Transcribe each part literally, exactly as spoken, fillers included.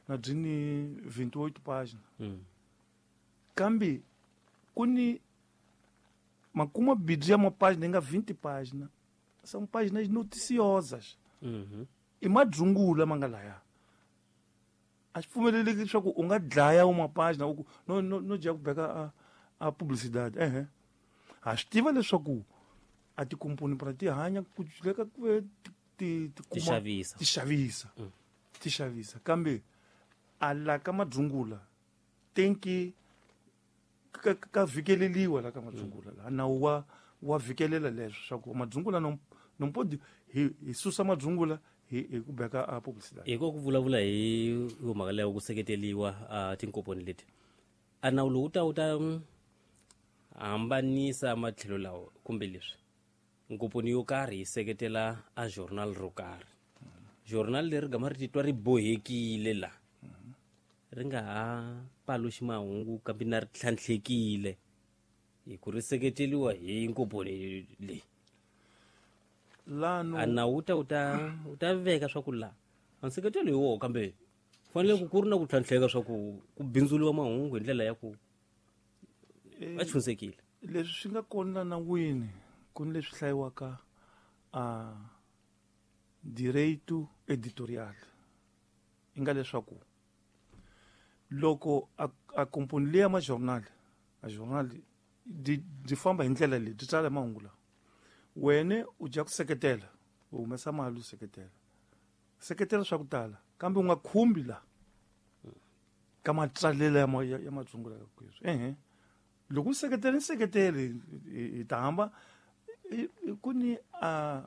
na byi ni twenty-eight página. Mm. Kambe ku ni makuma bidzi ya mapágina nga vinte página. São páginas noticiosas. Mhm. I madzungula ma nga laya. A swi pfumeleleki leswaku u nga dlaya uma página u ku no no no dya ku beka a a publicidade. Ehe. Ha swi tiva leswaku a tikomponi pra ti hanya ku leka ku ve ti ti Ti xavisa. ti xavisa. Mm. Ti xavisa kambe a la ka madzungula tenki ka ka vhikeleliwa la ka madzungula la nawu wa wa vhikelela leswo swa ku madzungula no no podi hi hi susa madzungula hi hi ku beka a publicidade. Hi ku vulavula hi mhaka leyo ku seketeliwa a tinkomponi leti a nawu lowu ta wu ta hambanisa matlhelo lawa kumbe leswi nkomponi yo karhi yi seketela a journal ro karhi journal leri gama ri titwa ri bohekile la ri nga ha paluxi mahungu kambe na ri tlhantlhekile hi ku ri seketeliwa hi nkomponi leyi. Lano a nawu ta wu ta wu ta veka swa ku la a nseketelo hi woho kambe fanele ku ku ri na ku tlhantlheka swa ku ku bindzuliwa mahungu hi ndlela ya ku va chunsekile. Leswi swi nga kona nawini ku ni leswi hlayiwaka a direito editorial i nga leswaku loko a, a komponi leyi ya majournal a journal di di famba hi ndlela leyi byi tsala mahungu lawa wena u dya ku seketela u humesa mali u seketela seketela swa ku tala kambe u nga khumbi la ka matsalelo ya ma, ya, ya madzungula ya kweswi. Ehe loko u seketela ni seketele hi ta hamba ku ni a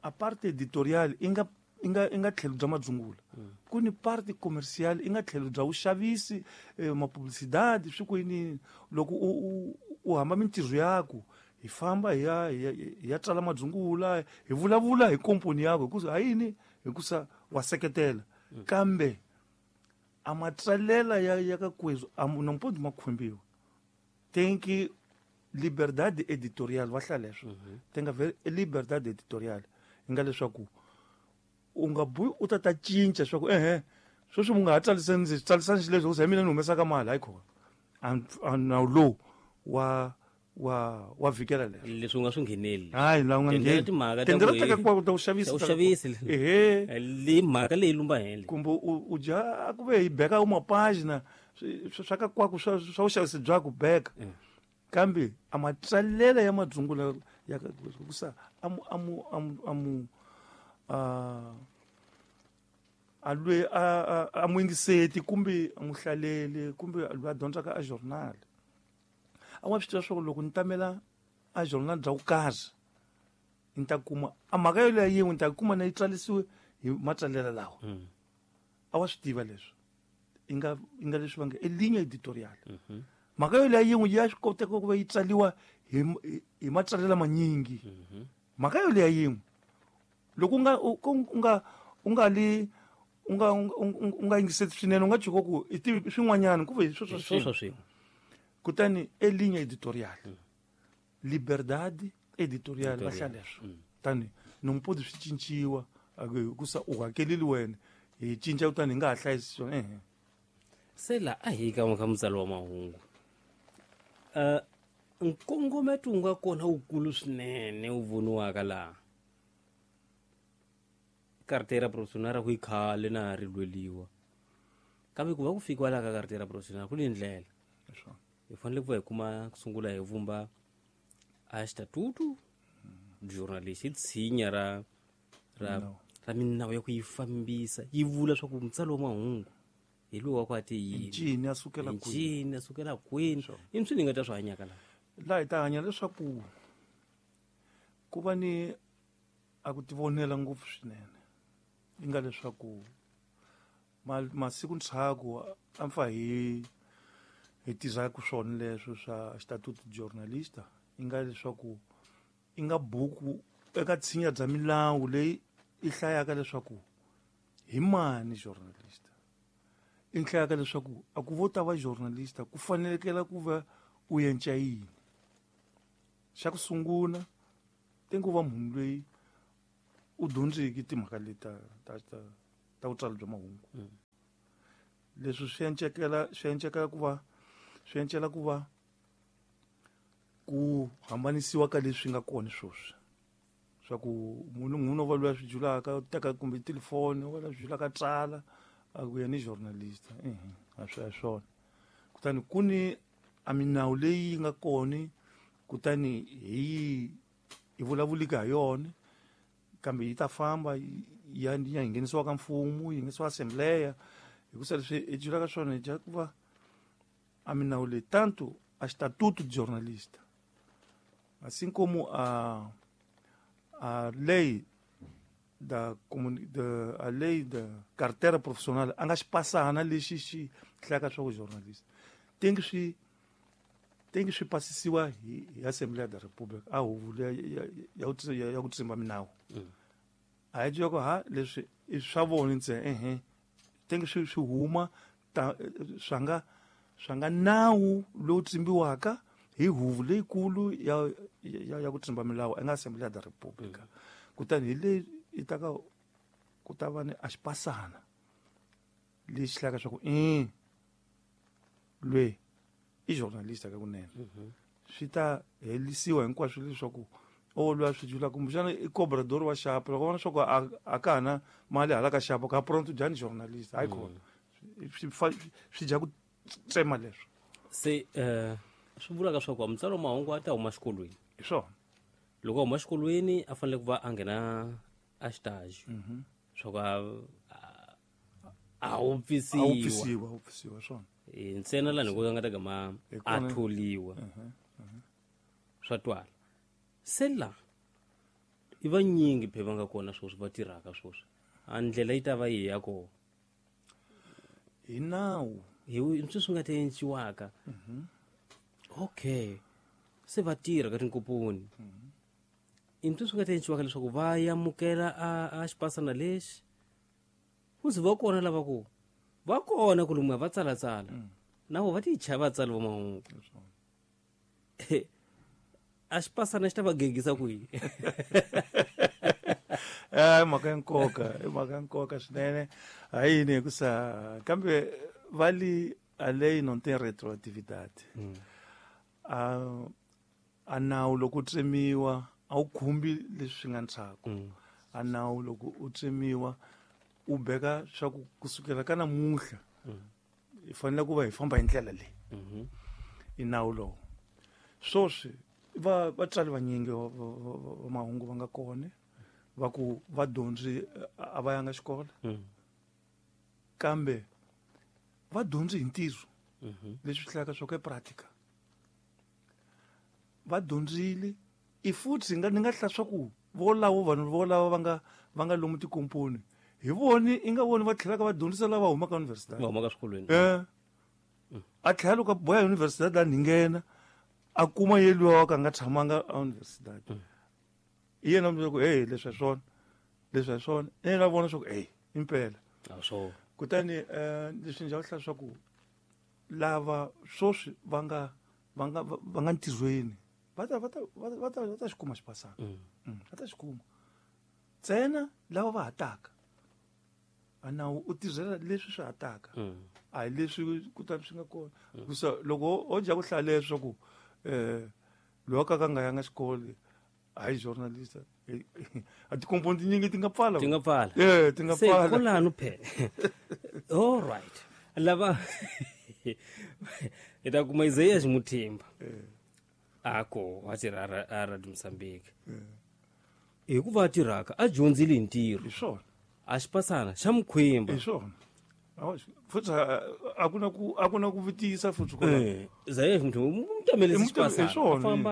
a parte editorial i nga i nga i nga tlhelo bya madzungula ku ni parte commercial i nga tlhelo bya vuxavisi eh, mapublicidade swi ku yini loko u u, u hamba mintirho yaku hi famba hi ya hi ya tsala madzungula hi vulavula hi komponi yakwe hikusa ha yini hikusa wa seketela kambe a matsalela ya ya ka kwezwi a no mpodi makhumbiwa tenki liberdade editorial va hlaya leswo tenga liberdade editorial i nga leswaku u nga buyi u ta ta cinca swa ku ehe sweswi mu nga ha tsalisani ndzi tsalisani xileswi hikusa hi mina ni humesaka mali hayi khona a nawu lowu wa wa wa vhikela leswo leswi u nga swi ngheneli hayi la u nga Tendlela ngheni timhaka ta tendlela ku ta ka hi- kwa ta ku xavisa ta ku ta ka xavisi. kwa. Ehe leyi mhaka leyi lumba henhla kumbe u u dya ku ve hi beka u mapágina swi swa ka kwaku swa swa vuxavisi bya ku beka kambe a matsalela ya madzungula ya ka kusa amu amu amu amu a a lwe a a- a mu yingiseti kumbe a mu hlaleli kumbe loyi a dyondzaka a journal a wa swi tiva swa ku loko ni tamela a journal bya ku karhi ni ta kuma a mhaka yoleyo yin'we ni ta kuma na yi tsalisiwe hi matsalela lawa a wa swi tiva leswi i nga i nga leswi va nge i ligne editorial mhaka yoleyo yin'we ya swi koteka ku va yi tsaliwa hi hi- hi matsalela manyingi mhaka yoleyo yin'we loko u nga u u nga u nga li u nga u nga- u nga yingiseti swinene u nga tshuka ku i tivi swin'wanyana ku ve hi sweswo sweswo swin'we swin'we kutani e linha editorial liberdade editorial va hlaya leswo tani no mpodi swi cinciwa a ku hikusa u hakeleli wena hi cinca kutani hi nga ha hlayisi swona ehe se la a hi ka ka mutsari wa mahungu uh, nkongometo wu nga kona wukulu swinene wu voniwaka laha carteira profissional ku yi khale na ri lweliwa kambe ku va ku fikiwa laha ka carteira profissional ku ni ndlela Leswo. hi fanele ku va hi kuma ku sungula hi vumba a xitatutu journalist i tshinya ra ra Minawu. ra minawu ya ku yi fambisa yi vula swa ku mutsari wa mahungu hi lowu wa ku a ti yini Ncini a sukela kwihi ncini a sukela kwini i swi ni nga ta swi hanyaka laha laha hi ta hanya leswaku ku va ni a ku tivonela ngopfu swinene yi nga leswaku ma- masiku ndzhaku a pfa hi hi tirhaka swona leswo swa statuto journalista yi nga leswaku i nga buku eka tshinya bya milawu leyi i hlayaka leswaku hi mani journalist i hlayaka leswaku a ku vo ta va journalista ku fanelekela ku va u yenca yini xa ku sungula te ku va munhu loyi u dyondzeki timhaka leti ta ta ta ta vutsari bya mahungu Leswi swi encekela swi encekela ku va swi encela ku va ku hambanisiwa ka leswi nga kona sweswi. Swa ku munhu munhu va loyi a swi julaka teka kumbe telefoni wa la swi julaka tsala a ku yena i journalist eh a swi swona. Kutani ku ni a minawu leyi nga kona kutani hi hi vulavulika ha yona kambe yi ta famba ya ya nghenisiwa ka mfumo yi nghenisiwa assembleya hikusa leswi hi julaka swona hi dya ku va a minawu leyi tanto a estatuto de jornalista assim como a a lei da da a lei da carteira profissional a nga xipasana lexi xi hlaka swa jornalista tem que se tem que se passisiwa hi, hi Assembleia da República a huvo ya ya ya ku tsimba minawu a hi dyoko ha leswi i swa vona ntsena ehe tem que se huma swa nga swa nga nawu lowu tsimbiwaka hi huvo leyikulu ya ya ya ku tsimba milawu eka Assembleia da República. Kutani hi leyi yi ta ka ku ta va ni a xipasana lexi hlaka swa ku i lwe i journalista ka kunene swi ta helisiwa hinkwaswo leswaku o lwa swi jula kumbexana i cobrador wa xapo loko vona swa ku a ka ha na mali hala ka xapo ka pronto dyani journalist hayi kona swi swi dya ku tsema leswo. Se eh swi vulaka swa ku mutsari wa mahungu a ta huma xikolweni hi swona. Loko a huma xikolweni a fanele ku va a nghena a xitaji swa ku a wupfisiwa a wupfisiwa wupfisiwa swona ntsena laha ni ku nga ta gama a tholiwa swa twala. Se la i vanyingi phe va nga kona sweswi va tirhaka sweswi a ndlela yi ta va yi ya kona hi nawu hi swi swi nga ta enciwaka. Okay se va tirha ka tinkomponi i swi swi nga ta enciwaka leswaku va amukela a a xipasana lexi ku ze va kona lava ku va kona ku lomuya va tsalatsala na vo va ti chava vatsali va mahungu a xipasana xi ta va gegisa kwihi? Eh mhaka ya nkoka i mhaka ya nkoka swinene ha yini hikusa kambe va li a lei não tem retroatividade. A a nawu loko u tsemiwa a wu khumbi leswi nga ndzhaku. A nawu loko u tsemiwa u beka swa ku kusukela ka namuntlha hi fanele ku va hi famba hi ndlela leyi i nawu lowu. Sweswi va vatswari vanyingi va mahungu va nga kona va ku va dyondzi a va yanga xikolo kambe va dyondzi hi ntirho leswi hlayaka swa ku practica va dyondzile i futhi nga ni nga hla swa ku volavo vanhu volavo va nga va nga lomu tikomponi hi voni i nga voni va tlhelaka va dyondzisa lava humaka university va humaka swikolweni eh a tlhela loko a boya university a nghena a kuma yeliwa wa ka nga tshamanga a university hi yena mi ku hey leswi hi swona leswi hi swona yena vona swa ku hey impela a swo. Kutani eh leswi ndzi hla swa ku lava sweswi va nga va nga va nga ntirhweni va ta va ta va ta va ta xi kuma xipasana va ta xi kuma ntsena lava va hataka a nawu u tirhela leswi swi hataka a hi leswi kutani swi nga kona hikusa loko o dya ku hlaya leswaku eh loyi a ka ka nga yanga xikolo hayi journalist a tikomponi tinyingi ti nga pfala ti nga pfala eh ti nga pfala se kolano phela. All right lava hi ta kuma Isaiah Ximuthemba ako a tirha a Radio Mozambique hikuva a tirhaka a dyondzile hi ntirho hi swona a xipasana xa mukhwemba hi swona futhi a ku na ku a ku na ku vutisa futhi kona Isaiah Ximuthemba mu tamele xipasana a famba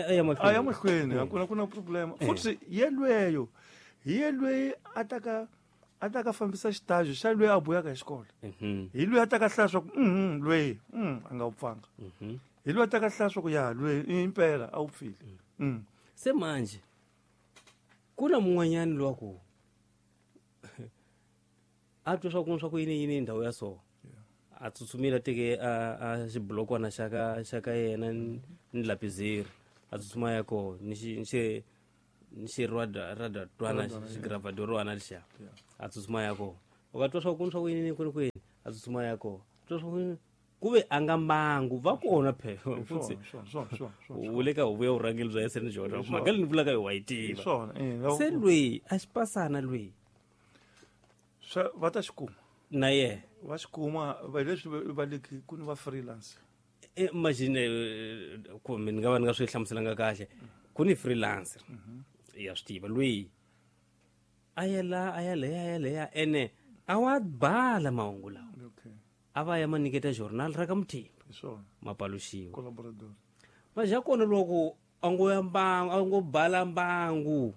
a ya mahlweni a ya mahlweni a ku na ku na problema futhi yelweyo hi yelweyi a ta ka a ta ka fambisa xitaji xa loyi a buyaka hi xikolo hi loyi a ta ka hlaya swa ku mhm loyi mm a nga wu pfanga hi loyi a ta ka hlaya swa ku ya loyi impela a wu pfile. Se manje ku na mun'wanyani lowa ku a twa swa ku swa ku yini yini ndhawu ya so a tsutsumile a teke a a xibulokwana xa ka xa ka yena ni lapizeri a tsutsuma ya kona ni xi ni xi ni xi rada twana xigravadorwana lexiya a tsutsuma ya kona u ka twa swa ku swa ku yini kwini kwini A tsutsuma ya kona ku ve a nga mbangu va kona phela futhi u le ka huvo ya vurhangeri bya S N Jordan mhaka leyi ni vulaka yo wa yi tiva se lweyi a xi pasana lweyi swa va ta xi kuma na yena va xi kuma va leswi va le ku ni va freelance imagine kumbe ni nga va ni nga swi hlamuselanga kahle ku ni freelancer ya swi tiva lweyi a ya la a ya leya a ya leya ene a wa bala mahungu lawa a va ya ma nyiketa journal ra ka Muthemba ma paluxiwa ma ja kona loko a ngo ya mbangu a ngo bala mbangu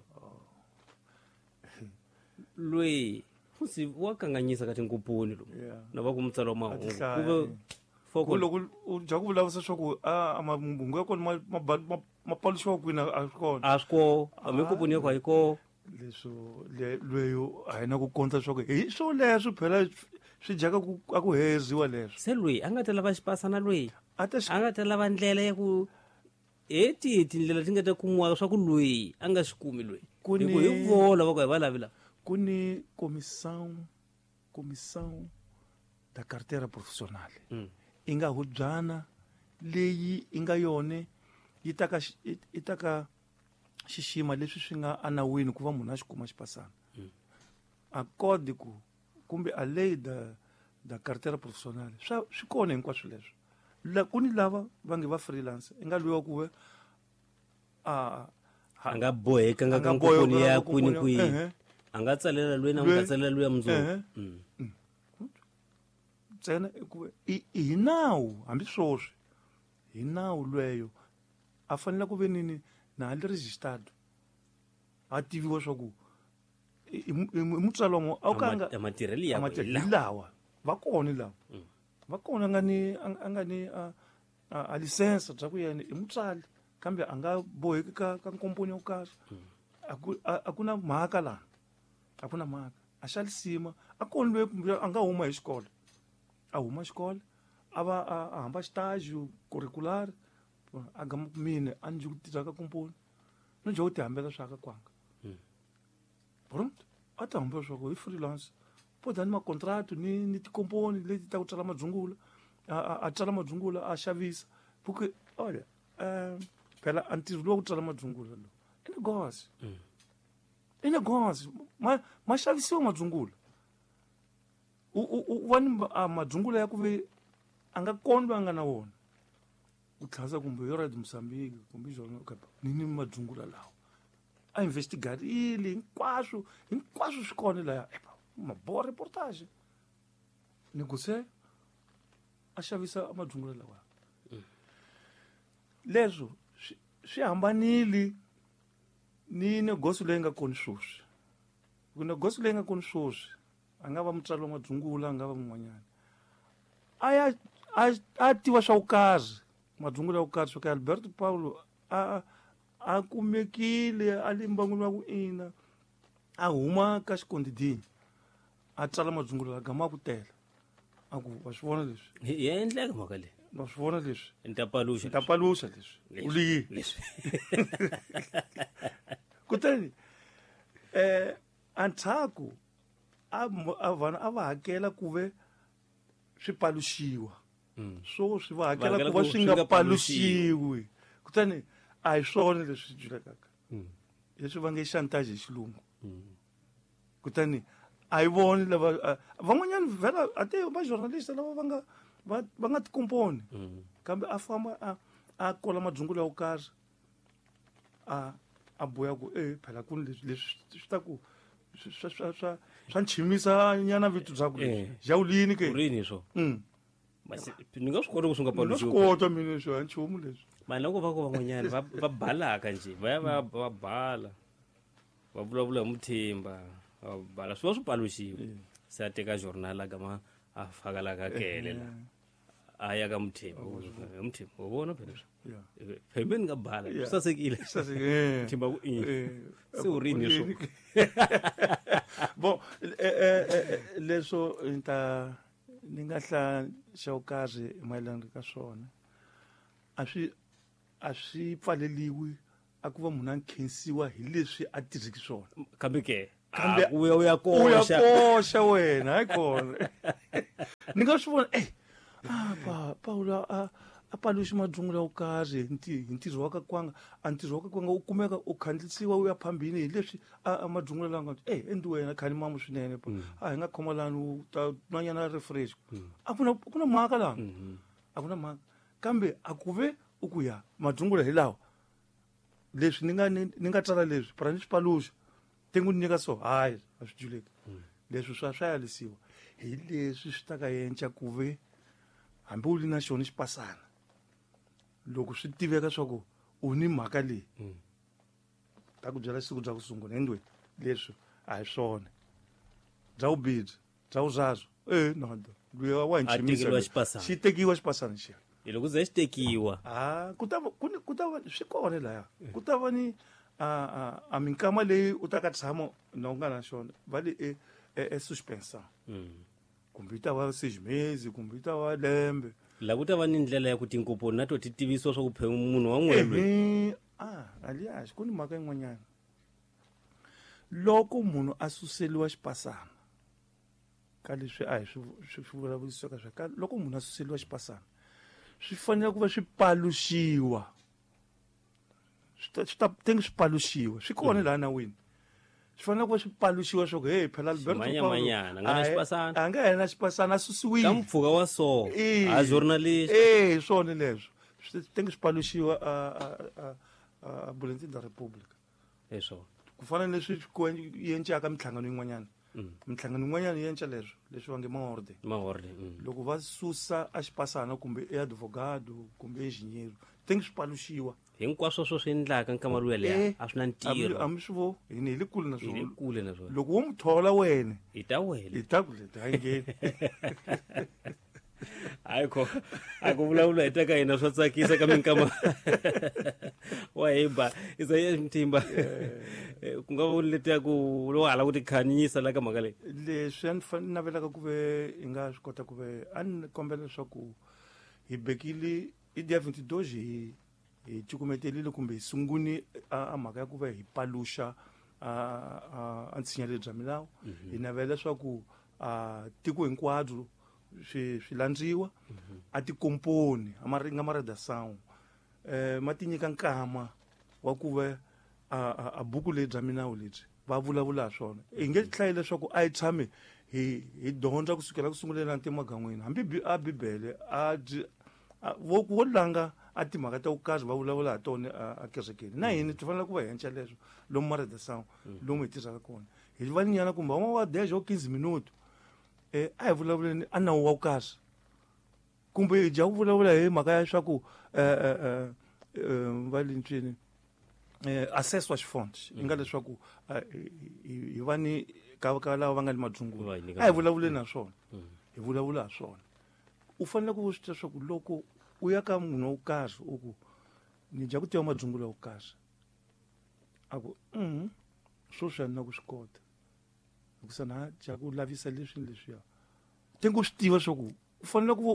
lweyi futhi wa kanganyisa ka tinkupuni lomu na va ku mutsalo wa mahungu kuve ku loko u dya ku vulavurisa swa ku a mahungu ya kona ma paluxiwa kwini a swi kona a swi kona hambi nkupuni ya ku a yi kona leswo lweyo a hi na ku kondza swa ku hi swo leswo phela swi dyaka ku a ku heziwa leswo se lweyi a nga ta lava xipasana lweyi a nga ta lava ndlela ya ku hi tihi tindlela ti nga ta kumiwa swa ku lweyi a nga xi kumi lweyi hi ku hi vola va ku hi va lavi lava ku ni comissão comissão da carteira profissional i nga hubyana leyi i nga yone yi ta ka yi ta ka xixima leswi swi nga anawini ku va munhu a xi kuma xipasana a código kumbe a lei da da carteira profissional swa swi kona hinkwaswo leswo la ku ni lava va nge va freelance i nga lwiwa ku ve a a nga boheka nga ka nkoponi ya kwini kwihi a nga tsalela lweyi na nga tsalela lweyi ya mundzuku ntsena ku hi nawu hambi swoswi hi nawu lweyo a fanele ku ve nini na a li registered a tiviwa swa ku i mutswalo wa a wu ka nga matirhelo ya hi lawa va kona lawa va kona nga ni a nga ni a a license bya ku yena i mutswali kambe a nga boheki ka ka nkomponi yo karhi a ku a ku na mhaka laha a ku na mhaka a xa lisima a kona loyi kumbe a nga huma hi xikolo a huma xikolo a va a hamba xitaji curricular a gama mina a ndzi ku tirha ka komponi no dya ku ti hambela swa ka kwanga pronto a ti hambela swa ku hi freelance po ni makontrakt ni ni tikomponi leti ta ku tsala madzungula a tsala madzungula a xavisa porque olha phela a ntirho lowu wa ku tsala madzungula lowu i negócio i negócio ma ma xavisiwa madzungula u u va ni madzungula ya ku ve a nga kona loyi a nga na wona ku tlhasa kumbe yo Radio Mozambique kumbe journal ni ni madzungula lawa a investigarile hinkwaswo hinkwaswo swi kona laya ma boa reportage negocia a xavisa madzungula lawa leswo swi hambanile ni negocio leyi nga kona sweswi ku negocio leyi nga kona sweswi a nga va mutswari wa madzungula a nga va mun'wanyana a ya a tiva swa ku karhi madzungula ya ku karhi swo ka Alberto Paulo a a kumekile a le mbangwini wa ku ina a huma ka xikondidini a tsala madzungula la gama ku tela a ku wa swi vona leswi ya endleka mhaka leyi wa swi vona leswi ni ta paluxa ni ta paluxa leswi u liyi leswi kutani eh antshaku a vanhu a va hakela ku ve swi paluxiwa swo swi va hakela ku va swi nga paluxiwi kutani a hi swona leswi julekaka leswi va nge chantage hi xilungu kutani a yi voni lava van'wanyana vhela a te va journalist lava va nga va va nga tikomponi kambe a famba a a kola madzungula ya ku karhi a a boya ku e phela ku leswi leswi swi ta ku swa swa swa swa nchimisa nyana vito bya ku jawulini ke rini swo ni nga swi kota ku swi nga paluxiwi swi kota mina swo a nchumu leswi mani loko va ku van'wanyana va va balaka njhe va ya va va bala va vulavula hi Muthemba va bala swi va swi paluxiwe se a teka journal a gama a faka la ka kele la a ya ka Muthemba Muthemba wa vona phela phela ni nga bala swi sasekile Muthemba ku i se u rini swo bon leswo ni ta ni nga hlaya xa ku karhi mayelana ka swona a swi a swi pfaleliwi a ku va munhu a nkhensiwa hi leswi a tirhiki swona kambe ke kambe u ya u ya u ya koxa koxa wena hayi kona Ni nga swi vona eh ah pa Paulo a a paluxi madzungula wo karhi hi ntirho wa ka kwanga a ntirho wa ka kwanga u kumeka u khandlisiwa u ya phambini hi leswi a madzungula lawa nga eh endi wena khani mamu swinene a hi nga khoma lani u ta nwanyana refresh a ku na ku na mhaka laha a ku na mhaka kambe a ku ve u ku ya madzungula hi lawa leswi ni nga ni nga tsala leswi para ni swi paluxa tengu ni nyika so hayi a swi juleki leswi swa swa yalisiwa hi leswi swi ta ka yenca ku ve hambi u li na xona xipasana loko swi tiveka swa ku u ni mhaka leyi ta ku byela siku bya ku sungula endweni leswi a hi swona bya vubibyi bya vuzazwo e nodo luya wa hi xi tekiwa xipasana xiya hi loko ze xi tekiwa a ku ta ku ku ta va swi kona laya ku ta va ni a a a minkama leyi u ta ka tshama na u nga na xona va le e e suspension kumbe yi ta va seis meses kumbe yi ta va lembe la ku ta va ni ndlela ya ku tinkomponi na to ti tivisiwa swa ku phe munhu wa n'welwe ah alias ku ni mhaka yin'wanyana loko munhu a suseliwa xipasana ka leswi a hi swi swi vulavurisiwaka swa ka loko munhu a suseliwa xipasana swi fanele ku va swi paluxiwa swi ta tenge swi paluxiwa swi kona laha nawini swi fanele ku va swi paluxiwa swa ku hey phela Alberto Manyamanyana nga na xipasana a nga yena xipasana a susiwile ka mpfhuka wa so a journalist eh swona leswo swi tenge swi paluxiwa a a a Bulletin de la República eswo ku fana leswi yencaka minhlangano yin'wanyana minhlangano yin'wanyana yi yenca leswo leswi va nge maorde maorde loko va susa a xipasana kumbe e advogado kumbe engineer tenge swi paluxiwa hinkwaswo swo swi endlaka nkama luya leya a swi na ntirho a mi swi vo hi ni hi le kule na swona hi le kule na swona loko wo mu thola wena hi ta wena hi ta ku le ta ngheni hayi ko a ku vulavula hi ta ka hina swa tsakisa ka minkama wa himba Isaias Mtimba ku nga vuli letiya ku lo hala ku tikhanyisa la ka mhaka leyi leswi a ni navelaka ku ve hi nga swi kota ku ve a ni kombela leswaku hi bekile i dia vinte e dois hi hi cukumetelile kumbe hi sunguni a mhaka ya ku va hi paluxa a a ntshinya lebyi bya milawu hi navela leswaku a tiko hinkwabyo swi swi landziwa a tikomponi a ma nga maredação eh ma ti nyika nkama wa ku va a buku leyi bya milawu lebyi va vulavula swona hi nge hlayi leswaku a hi tshame hi hi dyondza kusukela ku sunguleni na ntimagan'wini hambi a bibele a vo wo langa a timhaka ta ku karhi va vulavula ha tona a kerekeni na hina ti fanele ku va henca leswo lomu maredação lomu hi tirhaka kona hi va nyana kumbe van'wana wa dez o quinze minuto eh a hi vulavuleni a nawu wa ku karhi kumbe hi dya ku vulavula hi mhaka ya swa ku eh va le ncini eh access wa xifond yi nga leswaku hi va ni ka ka lava va nga ni madzungula a hi vulavuleni na swona hi vulavula ha swona u fanele ku swi tiva leswaku loko u ya ka munhu wo karhi u ku ni dya ku tiva madzungula wo karhi a ku mhm swoswi a ni na ku swi kota hikusa na dya ku lavisa leswi ni leswiya tengo swi tiva swa ku u fanele ku va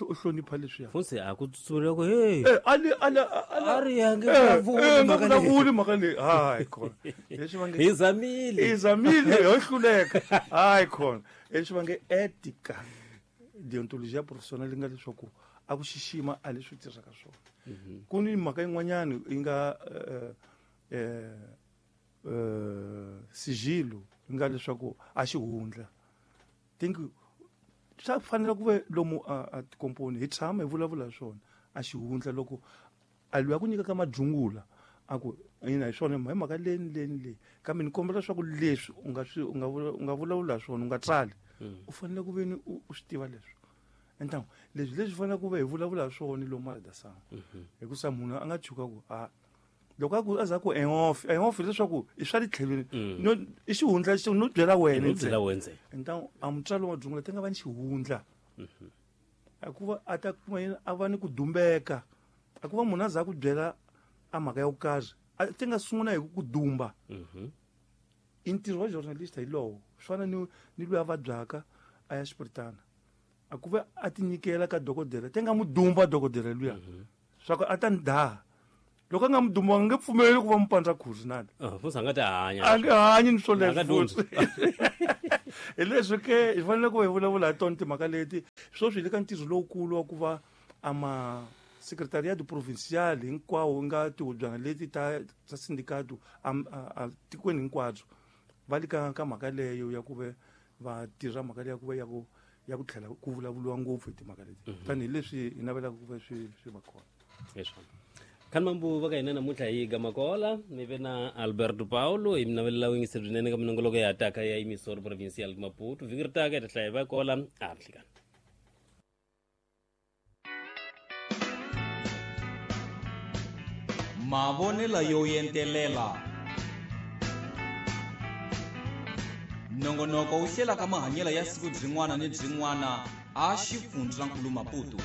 u hlonipha leswiya funtsi a ku tsutsumela ku hey ali ali a ri ya nge vulavuli mhaka leyi vulavuli mhaka leyi hayi khona leswi va nge hi zamile hi zamile ho hluleka hayi khona leswi va nge etika deontologia professionnel yi nga leswaku a ku xixima a leswi tirhaka swona ku ni mhaka yin'wanyana yi nga eh sigilo yi nga leswaku a xihundla think swa fanele ku ve lomu a tikomponi hi tshama hi vulavula hi swona a xihundla loko a luya ku nyika ka madzungula a ku ina hi swona hi mhaka leyi ni leyi ni leyi kambe ni kombela leswaku leswi u nga swi u nga u nga vulavula hi swona u nga tsali u fanele ku ve ni u swi tiva leswi então leswi leswi fanele ku ve hi vulavula hi swona lomu maredação hikusa munhu a nga tshuka ku a loko a ku a za ku en-off en-off leswaku i swa le tlhelweni no i xihundla no byela wena no byela wena ntsena então a mutswari wa dzungula ti nga va ni xihundla a ku va a ta kuma yena a va ni ku dumbeka a ku va munhu a za ku byela a mhaka ya ku karhi a ti nga sungula hi ku dumba i ntirho wa journalist hi lowo swi fana ni ni loyi a vabyaka a ya xipiritana a ku va a ti nyikela ka dokodela ti nga mu dumba dokodela luya swa ku a ta ni daha loko a nga mu dumba a nge pfumeleli ku va mu pandza khuzi nani futhi a nga ta hanya a nge hanyi ni A nga swoleswo dyondzi. futhi. Hi leswi ke hi fanele ku hi vulavula hi tona timhaka leti. Sweswi hi le ka ntirho lowukulu wa ku va ama secretariat provincial hinkwawo nga tihubyana leti ta ta sindicato a tikweni hinkwabyo va le ka ka mhaka leyo ya ku ve va tirha mhaka leya ku va ya ku ya ku tlhela ku vulavuriwa ngopfu hi timhaka leti, tanihileswi hi navelaka ku va swi swi va kona. Leswi khanimambu va ka hina namuntlha hi Gamakola mi ve na Alberto Paulo hi mi navelela vuyingiseri byinene ka minongoloko ya taka ya Emissora Provincial Maputo. Vhiki ri taka hi ta hlaya hi va kola a ri nhlikani. Mavonelo yo entelela nongonoko wu hlelaka mahanyelo ya siku byin'wana ni byin'wana a xifundzankulu Maputo.